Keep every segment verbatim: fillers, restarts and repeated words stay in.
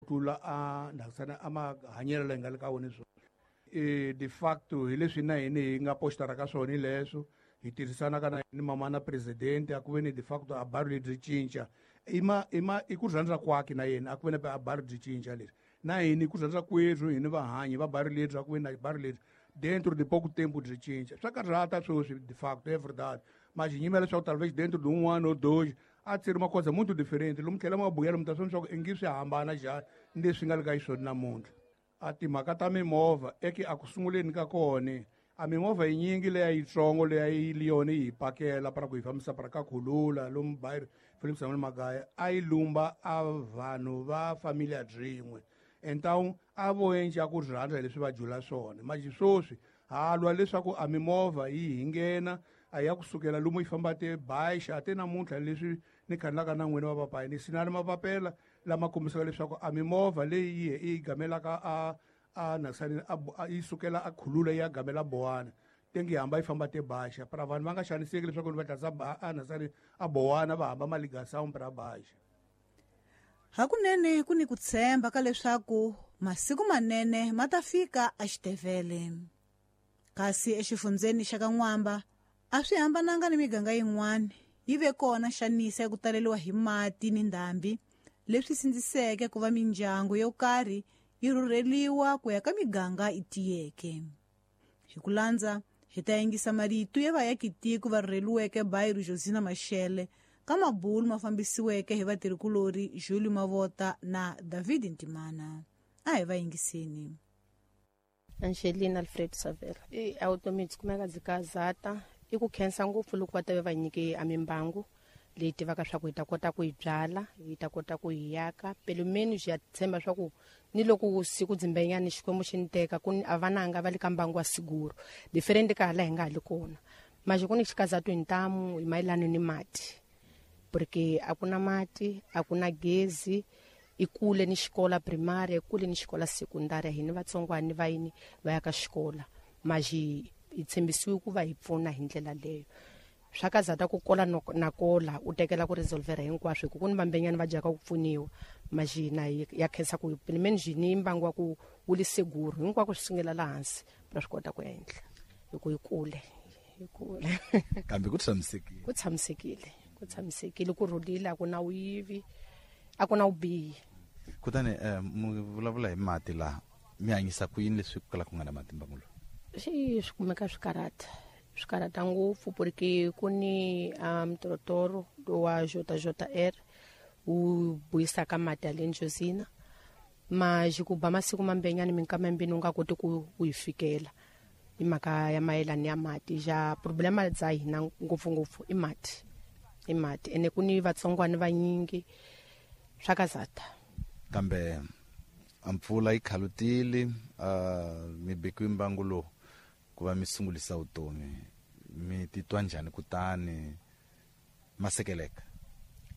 tlula a ndhakisana a mahanyelo leyi nga le ka wona swona. E de facto hi leswi na hina hi nga postara ka swona leswo hi tirhisana ka ni mama na president a ku ve ni de facto a baro lebyi cinca i ma i ma i ku rhandza kwakhe na yena a ku ve ni a baro byi cinca leswi na hina ku rhandza kwerhu hina vahanyi va baro lebyi a ku ve na baro lebyi dentro de pouco tempo byi cinca swa karhata sweswi de facto é verdade mas nyimela leswaku talvez dentro de um ano ou dois a ser uma coisa muito diferente lomu tlhela mabuyelo mi ta swi leswaku i ngi swi hambana njhani ni leswi nga le ka xiswona namuntlha. A timhaka ta mimovha eke a ku sunguleni ka kona a mimovha yinyingi leya yitsongo leya yi yona yi hi pakela para ku hi fambisa para ka Khulula lomu Bairro Philip Samuel Magaya a yi lumba a vanhu va familia byin'we então a vo endla ku rhandza leswi va jula swona manje sweswi ha lwa leswaku a mimovha yi hi nghena a ya kusukela lomu yi famba te baixa te namuntlha leswi ni khandzaka na n'wina va papayi ni sinani mapapela lama kombisaka leswaku a mimovha leyi yi yi gamelaka a a nasani a yi sukela a Khulula ya gamela Bowana tengi hamba yi famba te baixa para vanhu va nga xaniseki leswaku va tlatsa a nasani a Bowana va hamba maligasawu para baixa. Hakunene ku ni ku tshemba ka leswaku masiku manene ma ta fika exitevele. Kasi exifundzeni xa ka N'wamba a swi hambananga ni miganga yin'wana yi ve kona xanisa ya ku taleriwa hi mati ni ndhambi leswi sindziseke ku va mindyangu yo karhi yi rhurheliwa ku ya ka miganga yi tiyeke. Hi ku landza hi ta yingisa marito ya vaakitiko va rhurheliweke Bairro Josina Machel ka mabulu ma fambisiweke hi vatirhikulori Julie Mavota na David Ntimana. A hi va yingiseni. Angelina Alfred Savela. I automi byi kumeka byi kazata i ku khensa ngopfu loko va ta va nyike a mimbangu leyi tivaka swa ku hi ta kota ku yi byala hi ta kota ku yi yaka pelumeni byi ya tshemba swa ku ni loko siku dzimbenyani Xikwembu xi ni teka ku a vananga va le ka mbangu wa siguro different ka hala hi nga ha li kona manje ku ni xikazatu hi ntamu hi mayelana ni mati porque a ku na mati a ku na gezi i kule ni xikola primary kule ni xikola secondary hi ni vatsongwani va yini va ya ka xikola maji hi tshembisiwe ku va hi pfuna hi ndlela leyo swa kazata ku kola na kola u tekela ku resolvera hinkwaswo hi ku ni vambenyani va dyaka ku pfuniwa maji na ya khensa ku pimeni ni mbangu wa ku wu li seguro hinkwako swi sungela la hansi ra swi kota ku endla hi ku hi kule hi kule kambe ku tshamisekile ku tshamisekile ku tshamisekile ku rhulile a ku na wuyivi a ku na vubihi. Kutani mu vulavula hi mati laha mi hanyisa ku yini leswi ku kala ku nga na mati mbangu lowu? Swi swi kumeka swi karhata swi karhata ngopfu porque ku ni mtorotoro wa J J R wu buyisaka mati ya le Njozina ma ku ba masiku mambenyani minkama mbini u nga koti ku u yi fikela hi mhaka ya mayelana ya mati ja problema bya hina ngopfungopfu i mati i mati ene ku ni vatsongwani vanyingi swa kazata. Kambe a mpfula yi khalutile uh, mi bekiwe mbangu lowu ku va mi sungulisa vutomi mi titwa njhani kutani ma sekeleka?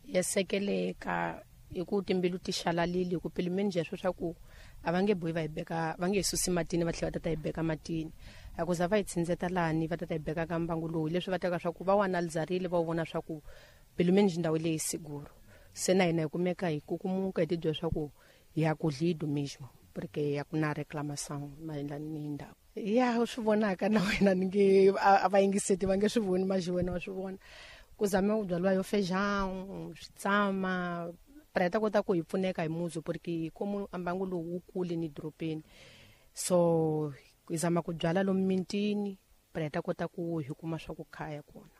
Ya sekeleka hi ku timbilu ti xalalile hi ku pilimeni njhe swa ku a va nge bohi va hi beka va nge hi susi matini va tlhela va tata hi beka matini a ku za va hi tsindzeta lani va tata hi beka ka mbangu lowu leswi va teka swa ku va wu analizarile va wu vona swa ku pilimeni ndhawu leyi siguro se na hina hi kumeka hi kukumuka hi tibyela swa ku ya ku lido mesmo porque ya ku na reclamação mayelana ni ndhawu ya swi vonaka na wena ni nge a va yingiseti va nge swi voni maji wena wa swi vona ku zama ku byaliwa yo feijão switsama para hi ta kota ku hi pfuneka hi muzi porque komu mbangu lowu wu kule ni dorobeni so hi zama ku byala lomu mintini para hi ta kota ku hi kuma swa ku khaya kona.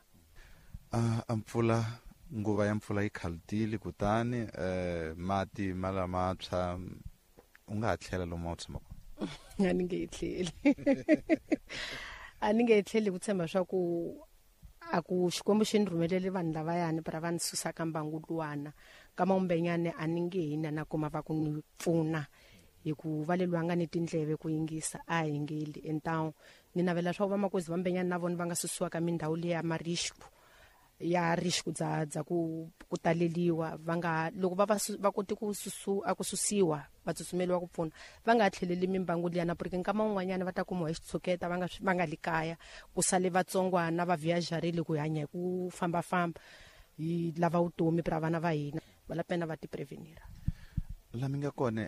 A mpfula nguva ya mpfula yi khalutile kutani eh mati ma lamantshwa u nga ha tlhela lomu a wu tshama kona? A ni nge yi tlheli a ni nge yi tlheli ku tshemba swa ku a ku Xikwembu xi ni rhumelele vanhu lavayani para va ni susa ka mbangu luwana ka mawumbenyane a ni nge hina na kuma va ku ni pfuna hi ku va lelwa nga ni tindleve ku yingisa a hi ngeli então ni navela swa ku vamakozi vambenyani na vona va nga susiwa ka mindhawu leya marisco ya risco dza dza ku ku taleliwa va nga loko va va koti ku susu a ku susiwa va tsutsumeliwa ku pfuna va nga tlheleli mimbangu liyana porque nkama wun'wanyana va ta kumiwa hi xitshuketa va nga va nga li kaya ku sale vatsongwana va viajarile ku hanya hi ku fambafamba hi lava vutomi pra vana va hina va la pena va ti prevenira. La mi nga kona